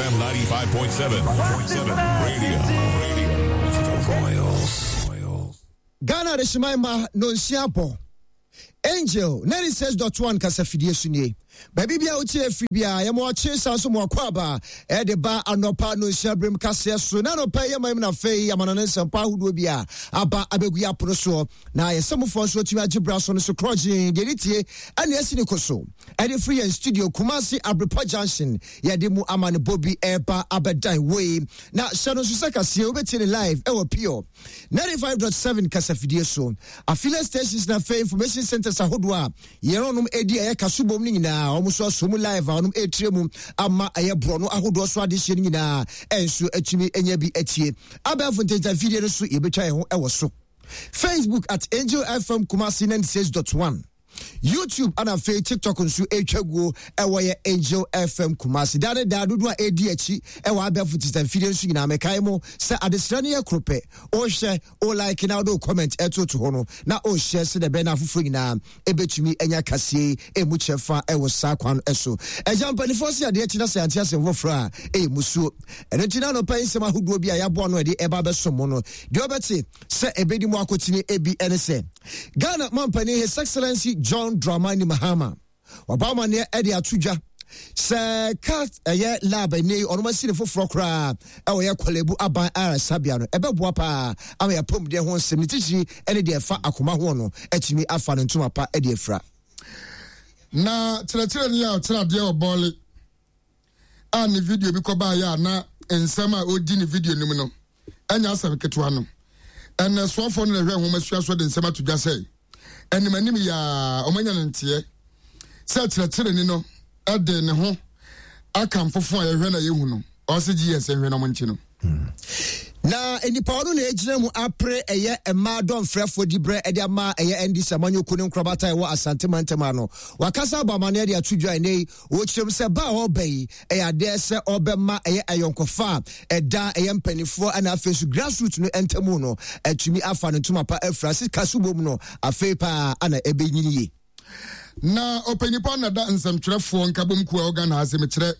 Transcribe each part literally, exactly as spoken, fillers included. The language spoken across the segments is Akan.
F M ninety-five point seven. seven. Radio. Radio. For the Royals. Ghana adehyeman ma nonsia bɔ. Angel ninety-six point one kasafidie so nie. Baabi bia wotie afiri bia, yɛma ɔkye sa so ma wakɔ aba ɛde ba anɔpa nonsia berem kaseɛ so. Na anɔpa yi yɛma mu no, afei amana no nsɛmpa ahodoɔ bi a aba abɛgu yɛ apono soɔ na yɛsɛmofoɔ nso atumi agye bra so no so korɔgyee deɛ ne tie ɛne asi ne ko so ɛde firi yɛn studio Kumase Abrepɔ Junction. Yɛde mu ama ne bɔ bi ɛreba abɛdan wei na hyɛ no nso sɛ kaseɛ wobɛtie ne live ɛwɔ Pure ninety-five point seven kasafidie so, affiliate stations na afei information centers ahodoɔ a yɛn ɔnom edi ɛyɛ kasobom no nyinaa, wɔn nso aso mu live a wɔnom etire mu ama ɛyɛ borɔno ahodoɔ so adehyɛ no nyinaa ɛnso atumi anya bi atie. Abɛɛfo ntɛntɛn no so yɛbɛtwa yɛn ho ɛwɔ so Facebook at Angel F M Kumasi ninety-six point one, YouTube ana afei TikTok nso ɛtwa guo ɛwɔ yɛ Angel F M Kumasi. Daa ne daa dodoɔ a ɛdi akyi ɛwɔ abɛɛfo titafidie nso nyinaa, mɛkae mo sɛ adesrɛ no yɛ koro pɛ: wohwɛ, o like na wode wo comment ɛtoto hɔ no na wohyɛ sɛ dɛ bɛn na afoforɔ nyinaa ɛbɛtumi anya kaseɛ ɛmu kyɛfa ɛwɔ saa kwan no ɛso. Ɛgya mpanimfoɔ sɛ adeɛ akyi na sɛ ante asɛm foforɔ a ɛyɛ musuo. Ɛno nti na anɔpa yi nsɛm ahodoɔ bi a yɛaboa no ɛde ɛba bɛsom mo no, deɛ wobɛte sɛ ɛbɛdi mu akotene ebi ɛne sɛ Ghana mampanin His Excellency John Dramani Mahama waba amanneɛ ɛde ato dwa sɛ cat ɛyɛ lab ɛnɛ yi ɔnom asi ne foforɔ koraa ɛwɔ yɛ Korle Bu aban ayaresabea no, ɛbɛboa paa ama yɛapɔmuden ho nsɛm ne titiri ɛne deɛ ɛfa akoma ho no atumi afa no ntoma pa ɛde afira. Na kyerɛkyerɛni a ɔkyerɛ adeɛ wɔ Bɔɔle a ne video bi kɔbaeɛ a na nsɛm a ɔdi ne video no mu no ɛnyɛ asɛm ketewa no, ɛnɛ soafoɔ no na ɛhwɛ nwoma sua so de nsɛm ato dwa sɛ anim anim yaa ɔmanya no nteɛ sɛ kyerɛkyerɛni no ɛde ne ho aka mfofo a yɛhwɛ na yɛhu no, ɔse G S nhwɛ na ɔmo nkyi no. Na nipa ɔno na egyina mu apere ɛyɛ mmaa dɔnfrɛfoɔ di berɛ ɛde ama ɛyɛ N D C amanyɔkuo ne nkorabata ɛwɔ Asante mantam ano, wakasa abɔ amaneɛ de ato dwa. Ɛnɛ yi wɔkyerɛ mu sɛ ba a ɔreba yi ɛyɛ adeɛ sɛ ɔbɛma ɛyɛ ayɔnkofa a ɛda ɛyɛ mpanimfoɔ ɛna afei nso grassroots no ntamu no atumi afa ne ntoma pa afira sika so bom no afei paa ana ɛbɛnyini yie. Na ɔpanyinipa na da nsɛmtwerɛfoɔ nkabom kuo a ɔga na ase mekyerɛ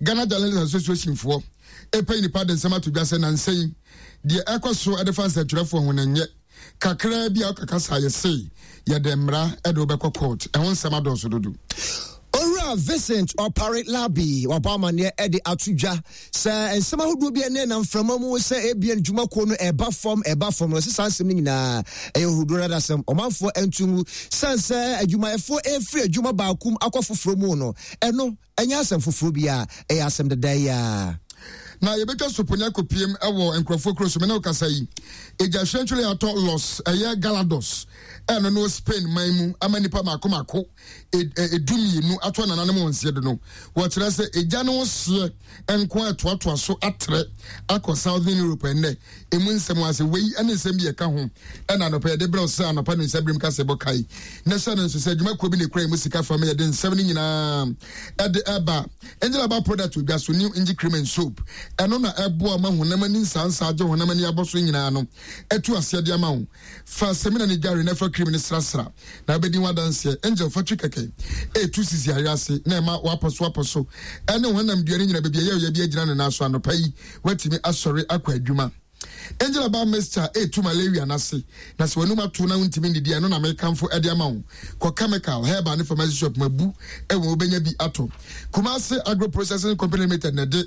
Ghana Journalist Association foɔ ɛpɛ nipa de nsɛm ato dwa sɛ nansa yi deɛ ɛkɔ so ɛde fa nsɛmtwerɛfoɔ ho no nyɛ kakraa bi a ɔkaka saa yɛsei yɛde mmara ɛde wobɛkɔ court, ɛho nsɛm adɔɔso dodo. Owura Vincent Ɔpare Labi wabɔ amanneɛ ɛde ato dwa sɛ nsɛm ahodoɔ bi ɛne nam mframa mu sɛ ebien dwumakuo no ɛba fam ɛba fam no, ɛsɛ saa nsɛm no nyinaa ɛyɛ ohuduo no adasɛm, ɔmanfoɔ nto ngu sane sɛ adwumayɛfoɔ ɛfiri adwuma baako mu akɔ foforɔ mu no, ɛno ɛnyɛ asɛm foforɔ bi a ɛyɛ asɛm deda yi a. Na yɛbɛtwa soponya kɔpiem ɛwɔ nkurɔfoɔ kuro so. Mene wokasa yi, ɛgya hwɛntwere atɔ Los ɛyɛ Galados ɛno no Spain man mu ama nipa mako mako edu mmienu ato nananom wɔn nseɛ do no. Wɔkyerɛ sɛ egya no hyeɛ nko a ɛtoatoa so atrɛ akɔ Southern Europe. Ɛnnɛ emu nsɛm ase wei ɛne nsɛm bi ɛka ho ɛna anɔpa yɛde brɛ sɛ anɔpa no nsɛm birim kasa ɛbɔ kae na hyɛ no nso sɛ adwumakuo bi na ekura emu sika fam yɛde nsɛm no nyinaa ɛde ɛba. Angel Aba product odwa so, New Angel Cream and Soap, ɛno na ɛboa ma honam ani nsansa agye honam ani abɔ so nyinaa no ɛtu aseɛ de ama wo. Fa sɛmina ne dware na fa cream ne srasra na wobɛdi ho adanseɛ. Angel fa twi kɛkɛ ɛtu sisi ayɛ ase na ɛma wapɔ so apɔ so ɛne honam dua no nyina baabi ɛyɛ ɔyɛ bi agyina ne nan so. Anɔpa yi watumi asɔre akɔ adwuma. Angel Aba mixture ɛtu malaria n'ase na sɛ w'anum ato na wontumi ndidi, ɛno na mekamfo ɛde ama wo. Kɔ chemical, herbal ne pharmacy shop mabu ɛwɔ wobɛnya bi atɔ. Kumase Agro Processing Company Limited na ɛde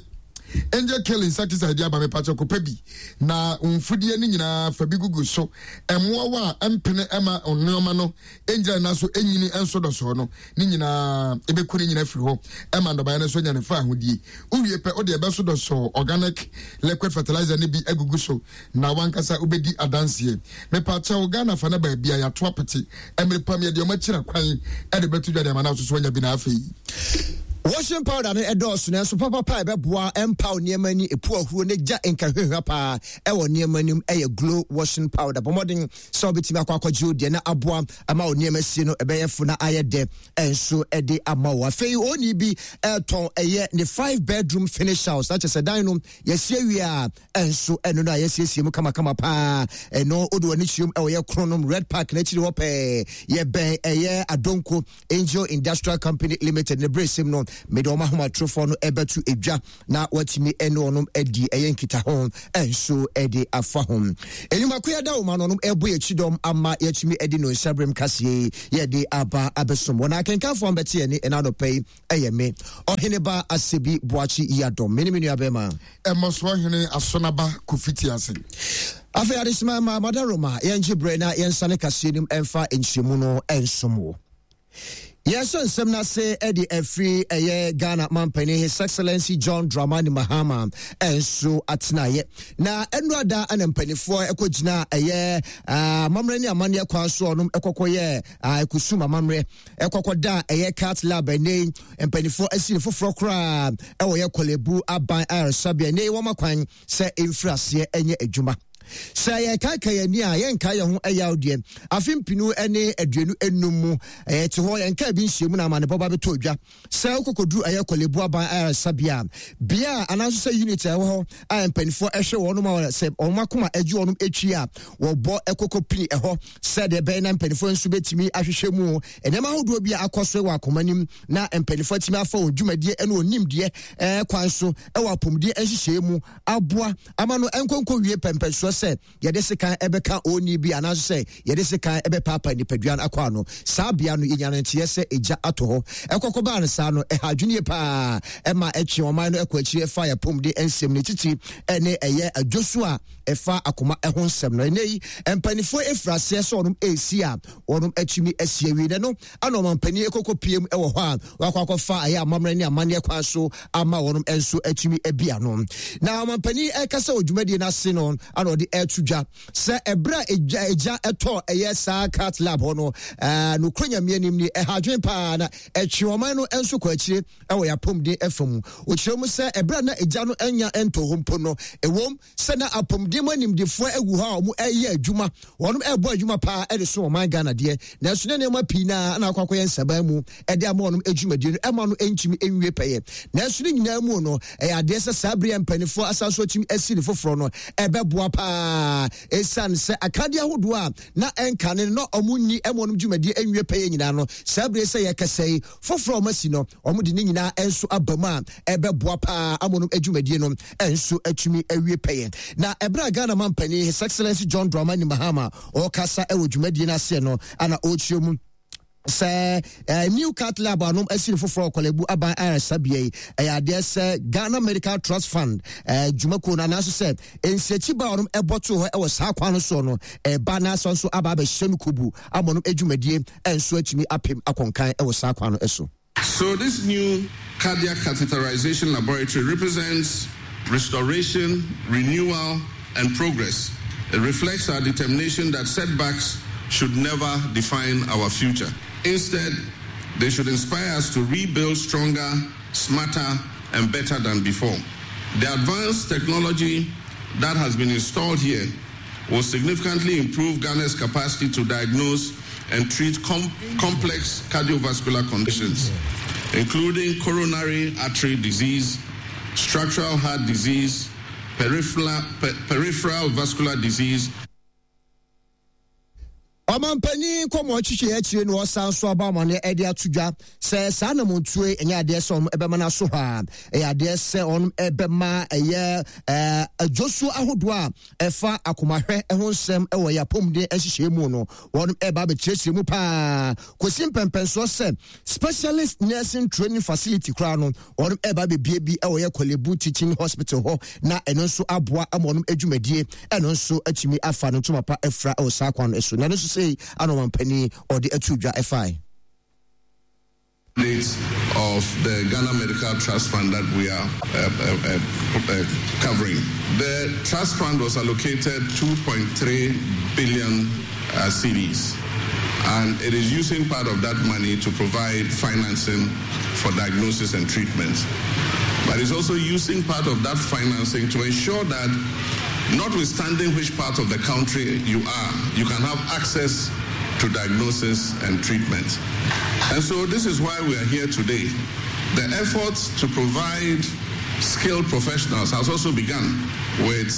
Angel Kill insecticide aba. Mepakyɛ, kɔpɛ bi na mfudie no nyinaa fa bi gugu so. Ɛmmoawa a ɛmpene ɛma nneɛma no ɛngyina na so ɛnyini ɛnso dɔsɔɔ no ne nyinaa ɛbɛku ne nyinaa firi hɔ ɛma nnɔbaeɛ no nso anya ne fa ahodie. Wowie pɛ, wode ɛbɛso dɔsɔɔ organic liquid fertilizer no bi agugu so na wankasa wobɛdi adanseɛ. Mepakyɛw, Ghana fa no baabi a yɛato apete mmerɛ pam yɛde ɔma kyira kwan ɛde bɛto dwa de ama no aso so anya bi na afei washing powder no ɛdɔɔso, nanso papapa a ɛbɛboa ɛmpaw nneɛma ani epu ahuro ne gya nkahwehwɛ paa ɛwɔ nneɛma anim ɛyɛ Glow washing powder. Bɔ mmɔden sɛ wobɛtumi akɔ akɔgye wo deɛ na aboa ama wo nneɛma sie no ɛbɛyɛ fo na ayɛ dɛ ɛnso ɛde ama wo. Afei oni bi ɛtɔn ɛyɛ ne five bedroom finish house na kyerɛ sɛ dan no yɛsie wie a ɛnso ɛno no a yɛsiesie mu kamakama paa. Ɛno wode w'ani kyerɛm ɛwɔ yɛ Kronom Red Park n'akyiri hɔ pɛɛ, yɛbɛn ɛyɛ Adonko Angel Industrial Company Limited ne berɛ sim no. Mede ɔmo ahomatorofoɔ no ɛbɛto edwa na watumi ɛne ɔnom adi ɛyɛ nkitaho ɛnso ɛde afa ho. Enyimako yɛda wɔn ano ɔnom ɛbɔ yɛn kyidɔm ama yɛtumi ɛde no nhyɛbrɛm kaseɛ yɛde aba abɛsom wɔn. Akenkanfoɔ mbɛte yɛn ne ɛna anɔpɛ yi ɛyɛ me, Ɔheneba Asebi Boakye Yiadɔm, me ne me nua bɛrima Ɛmmɔsoɔ Hene Asonaba Kofi Tiase. Afei adesima ma madaroma yɛngye berɛ na yɛnsane kaseɛ nim ɛmfa nkyerɛmu no ɛnsom wo. Yɛhyɛ nsɛm no ase de afiri ɛyɛ Ghana mampanin His Excellency John Dramani Mahama ɛnso atenaeɛ, na ɛnurada ɛna mpanimfoɔ ɛkɔgyina ɛyɛ amammerɛ ne amanneɛ kwan so ɔnom ɛkɔkɔyɛ ɛkusum amammerɛ ɛkɔkɔ da ɛyɛ cath lab. Ɛnɛ mpanimfoɔ asi ne foforɔ koraa ɛwɔ yɛ Korle Bu aban ayaresabea. Ɛnɛ wɔn akwan sɛ ɛmfiri aseɛ ɛnyɛ adwuma. Sɛ yɛkaeka yɛn ani a yɛnka yɛn ho ɛyaw deɛ, afe mpinu ne aduonu enum mu ɛyɛ te hɔ yɛnka bi nhyia mu na amane bɔba bɛtɔ dwa sɛ wokɔkɔduru ɛyɛ Korle Bu aban ayaresabea bea a anaasɛ sɛ unit a ɛwɔ hɔ a mpanimfoɔ ɛhwɛ wɔn a sɛ wɔn akoma agye wɔn akyi a wɔbɔ ɛkɔkɔ pini ɛhɔ sɛdeɛ ɛbɛyɛ na mpanimfoɔ nso bɛtumi ahwehwɛ mu nneɛma ahodoɔ bi a akɔ so wɔ akoma nim na mpanimfoɔ atumi afa wɔn dwumadie ne wɔn nimdeɛ ɛɛ kwan so ɛwɔ apɔmuden nhyehyɛe mu aboa ama no nkonko wie pɛmpɛnsoɔ sɛ yɛde sekan ɛbɛka oni bi anaasɛ sɛ yɛde sekan ɛbɛpaapa nipadua no akɔ ano. Saa bea no yɛnya no nteɛ sɛ egya atɔ hɔ. Ɛkɔkɔ baa no saa no, ɛha adwene paa ɛma ɛtwe ɔman no ɛkɔ akyiri ɛfa yɛpɔmuden nsɛm ne titiri ɛne ɛyɛ adwoso a ɛfa akoma ɛho nsɛm no. Ɛnɛ yi mpanimfoɔ efiri aseɛ sɛ ɔnom esi a wɔnom atumi asi awie no ana ɔmampanin ɛkɔkɔ pie mu ɛwɔ hɔ a wakɔ akɔfa ɛyɛ amammerɛ ne amanneɛ kwan so ama wɔnom nso atumi abi ano. Na ɔmampanin ɛkasa wɔ dwumadie no ase no ana ɔde ɛto dwa sɛ ɛberɛ a egya egya ɛtɔ ɛyɛ saa cath lab hɔ no, ɛɛ nokoro Nyame anim ni, ɛha adwene paa na ɛtwe ɔman no nso kɔ akyire ɛwɔ yɛapɔmuden ɛfa mu. Ɔkyerɛ mu sɛ ɛberɛ a na egya no anya ɛntɔ hɔ mpo no, ɛwom sɛ na apɔmuden mu animdefoɔ agu hɔ a wɔn ɛyɛ adwuma, wɔn ɛrebɔ adwuma paa ɛde so ɔman Ghana deɛ, nanso ne nneɛma pii naa na akɔ akɔyɛ nsaban mu ɛde ama wɔn adwumadie no ɛma no ntumi nwie pɛyɛ. Nanso ne nyinaa mu no, ɛyɛ adeɛ sɛ saa bere mpanimfoɔ asan so atumi asi ne foforɔ no ɛbɛboa paa, ɛsiane sɛ akadeɛ ahodoɔ a na ɛnka ne no na wɔn nni ɛma wɔn dwumadie nwie pɛyɛ nyinaa no, saa bere sɛ yɛkasa yi, foforɔ a wɔn asi no, wɔn de ne nyinaa nso aba mu a ɛbɛboa paa ama wɔn adwumadie no nso atumi awie pɛyɛ. Na ɛberɛ a Ghana mampanin His Excellency John Dramani Mahama ɔrekasa ɛwɔ dwumadie no aseɛ no ana ɔrekyerɛ mu sɛ uh, new cath lab anom asi ne foforɔ Korle Bu aban ayaresabea yi, ɛyɛ adeɛ sɛ Ghana Medical Trust Fund uh, dwumakuo no anaasɛ sɛ nsiakyi ba ɔnom ɛbɔ to hɔ ɛwɔ saa kwan no soɔ no ɛba n'asa nso aba abɛhyɛ no kobu ama ɔnom adwumadie nso atumi apem akɔnkan ɛwɔ saa kwan no so. So this new cardiac catheterization laboratory represents restoration, renewal, and progress. It reflects our determination that setbacks should never define our future. Instead, they should inspire us to rebuild stronger, smarter, and better than before. The advanced technology that has been installed here will significantly improve Ghana's capacity to diagnose and treat com- complex cardiovascular conditions, including coronary artery disease, structural heart disease, peripheral, peripheral vascular disease. Ɔmampanin nkɔmmɔ twitwi akyire no, ɔsan so aba amane ɛde ato dwa sɛ saa namontuo ɛnyɛ adeɛ sɛ ɔno ɛbɛma no aso hɔ a, ɛyɛ adeɛ sɛ ɔno ɛbɛma ɛyɛ ɛɛ adwosuo ahodoɔ a ɛfa akomahwɛ ho nsɛm ɛwɔ yɛ apɔmuden nhyehyɛ mu no, wɔn ɛba abɛkyerɛkyerɛ mu paa kɔsi mpɛmpɛnsoɔ sɛ specialist nursing training facility koraa no, wɔn ɛba abɛbie bi ɛwɔ yɛ Korle Bu Teaching Hospital hɔ, na ɛno nso aboa ama wɔn adwumadie ɛno nso atumi afa no ntoma pa afira ɛwɔ saa kwan no so. Na ɛno nso sei ana ɔmampanin ɔde ato dwa ɛfae. Of the Ghana Medical Trust Fund that we are uh, uh, uh, covering. The trust fund was allocated two point three billion uh, cedis, and it is using part of that money to provide financing for diagnosis and treatment. But it's also using part of that financing to ensure that, notwithstanding which part of the country you are, you can have access to diagnosis and treatment. And so this is why we are here today. The effort to provide skilled professionals has also begun with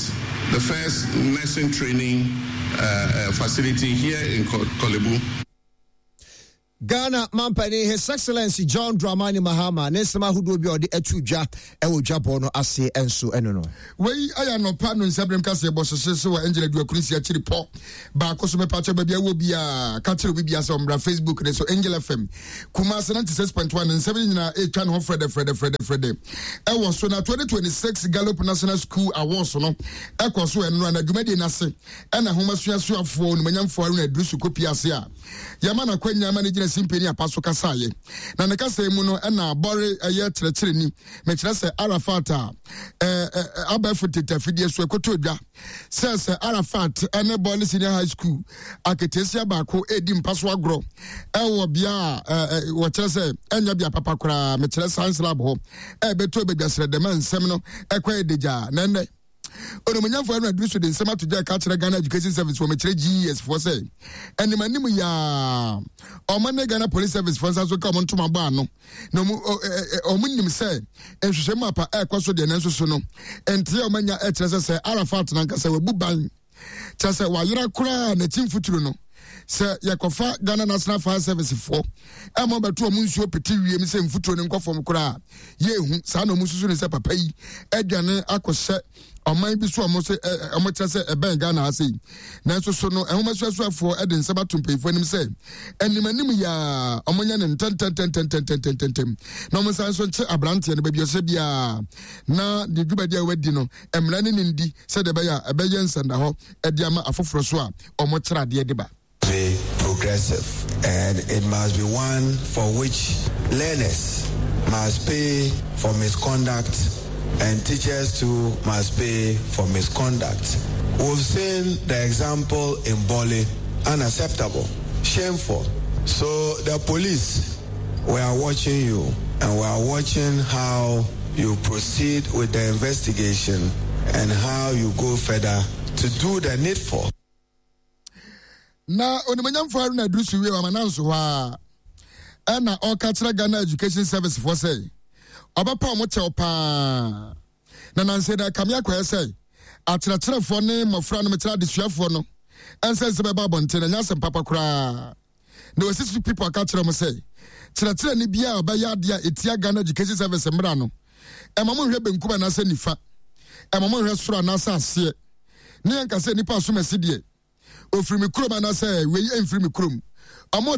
the first nursing training uh, uh, facility here in Korle Bu. Ghana mampanin, His Excellency John Dramani Mahama, ne nsɛm ahodoɔ bi a ɔde ato dwa ɛwɔ dwabɔ no ase nso ɛno no. Wei ayɛ anɔpa no nsɛmbrɛm kaseɛ bɔ hyehye so wɔ Angel Aduakuru nsia akyiri pɔ baako so. Mepakyɛ, baabi a wɔ biaa, ka kyerɛ obi bia sɛ ɔmmra Facebook ne so, Angel F M Kumase ninety-six point one. Nsɛm yi nyinaa ɛtwa ne ho frɛdɛ frɛdɛ frɛdɛ frɛdɛ ɛwɔ so. Na twenty twenty-six Gallup National School Awards no ɛkɔ so ɛnora, na dwumadie no ase ɛna ahoma suasuafoɔ onimanyamfoɔ Aruna Aduru kopi ase a yɛma no akwanya ma no gyina simpani apa so kasaeɛ. Na ne kasa mu no, ɛna abɔre ɛyɛ kyerɛkyerɛni, mekyerɛ sɛ Arafat a abɛɛfo tete afidie so ɛkɔtɔ dwa sɛ sɛ Arafat ɛne Bɔle Senior High School aketesia baako ɛredi mpa so agorɔ ɛwɔ bea a wɔkyerɛ sɛ ɛnyɛ bea papa koraa, mekyerɛ science lab hɔ, ɛbɛtɔ badwasrɛ dɛm a nsɛm no ɛkɔ ɛdegyaa. Na ɛnnɛ onimonyamfoɔ ɛno aduru so de nsɛm ato gya ka kyerɛ Ghana Education Service wɔ, mekyerɛ G E S foɔ, sɛ anim anim yaa ɔmo ne Ghana Police Service foɔ nsa so ka ɔmo ntoma bɔ ano, na ɔmo ɔmo nim sɛ nhwehwɛmu apa ɛrekɔ so deɛ, nanso so no nteɛ ɔmo anya ɛkyerɛ sɛ sɛ Arafat nankasa wabu ban, kyerɛ sɛ wayera koraa n'akyi mfuturo no, sɛ yɛkɔfa Ghana National Fire Service foɔ ɛma bɛto ɔmo nsuo pete wiem sɛ mfuturo no nkɔ fam koraa, yɛehu saa na ɔmo susu ne sɛ papa yi adwane akɔhyɛ ɔman bi so a ɔmo sɛ ɛ ɔmo kyerɛ sɛ ɛbɛn Ghana ha sei. Nanso so no ɛhoma suasuafoɔ ɛde nsɛm ato mpanyinfoɔ anim sɛ anim anim yaa ɔmo nyɛ ne ntɛntɛntɛntɛntɛntɛntɛm na ɔmo nsan so nkye aberanteɛ no baabi ɔhyɛ biara, na deɛ dwumadi a wadi no, mmara ne ne ndi, sɛdeɛ ɛbɛyɛ a ɛbɛyɛ nsɛnda hɔ ɛde ama afoforɔ so a ɔmo kyerɛ adeɛ de ba. Be progressive, and it must be one for which learners must pay for misconduct and teachers too must pay for misconduct. We've seen the example in Bole, unacceptable, shameful. So the police, we are watching you and we are watching how you proceed with the investigation and how you go further to do the needful. Na onimonyamfo Haruna Iddrisu wie wama nanso hɔ a ɛna ɔka kyerɛ Ghana Education Service foɔ sɛ ɔbɛpa ɔmo kyɛw paa, na nansɛ da kame akɔyɛ sɛ akyerɛkyerɛfoɔ ne mmɔfra no, mekyerɛ adesuafoɔ no, ɛnsɛ nsɛ bɛba abɔnten na nyɛ asɛm papa koraa. Na wɔsi so people aka kyerɛ mo sɛ kyerɛkyerɛni biara a ɔbɛyɛ adeɛ a ɛtia Ghana Education Service mmara no, ɛma mo nhwɛ benkum anaasɛ nifa, ɛma mo nhwɛ soro anaasɛ aseɛ, ne yɛnka sɛ nipa asom asi deɛ ofiri mi kurom anaasɛ wei mfiri mi kurom, ɔmo